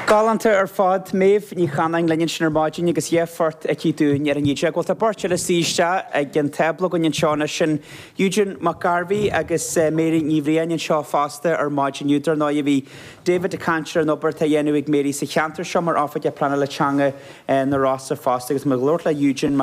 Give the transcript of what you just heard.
Galánta ar fad. Méabh Ní Chanáin linn ansin ar maidin agus dheich phort aici dúinn ar an Íde. Bhuel tá beirt eile suí isteach ag an tábla againn anseo anois, sin Eugene Mac Gairbhí agus Mary Ní Bhriain anseo fosta ar maidin inniu. Dar ndóigh bhí David ag caint ar an obair atá á dhéanamh ag Mary sa cheantar seo mar Oifigeach Pleanála Teanga na Rosa fosta agus muid ag labhairt le Eugene Mac.